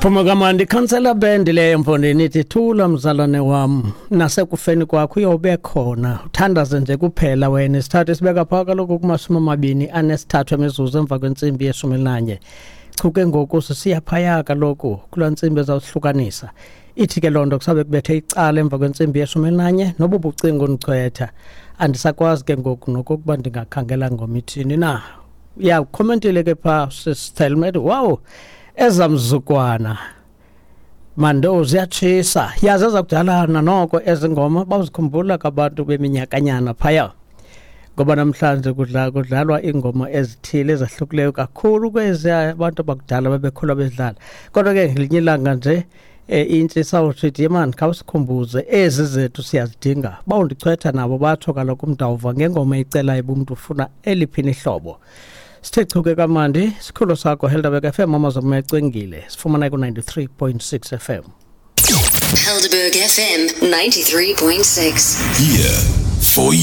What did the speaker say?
Phuma kamandi khansela band leyo mfondini, ithi thula mzalwane wam, nasekufeni kwakho uyobe khona, uthandaze nje kuphela wena. Isithathu isibeka phaa kaloku kuma-23 emizuzu emva kwentsimbi ye-11. Chuke ngoku sisiya phaya kaloku kulaa ntsimbi ezawuhlukanisa. Ithi ke loo nto kusabe kubethe icala emva kwentsimbi ye-11 nobu bucingo ndichwetha, andisakwazi ke ngoku nokokuba ndingakhangela ngomithini na. Ya, ukhomentile ke phaa sisithelmet, wow, ezamzukwana mando ziyatshisa, yazi ezakudalana noko ezi ngoma bawuzikhumbula kabantu beminyakanyana phaya, ngoba namhlanje kudlalwa iingoma ezithile ezahlukileyo kakhulu kwezi abantu bakudala babekhula bedlala. Kodwa ke ngelinye ilanga nje intsi sawusithi yemani, khawusikhumbuze ezi zethu siyazidinga. Bawundichwetha nabo batsho kaloku umdawuva ngengoma icelayo uba umntu ufuna eliphini ihlobo. Sithe chuke kamandi sikhulu sakho Helderberg FM, amazwe ecwengile, sifumana ku-93.6 FM. Helderberg FM 93.6. Here for you.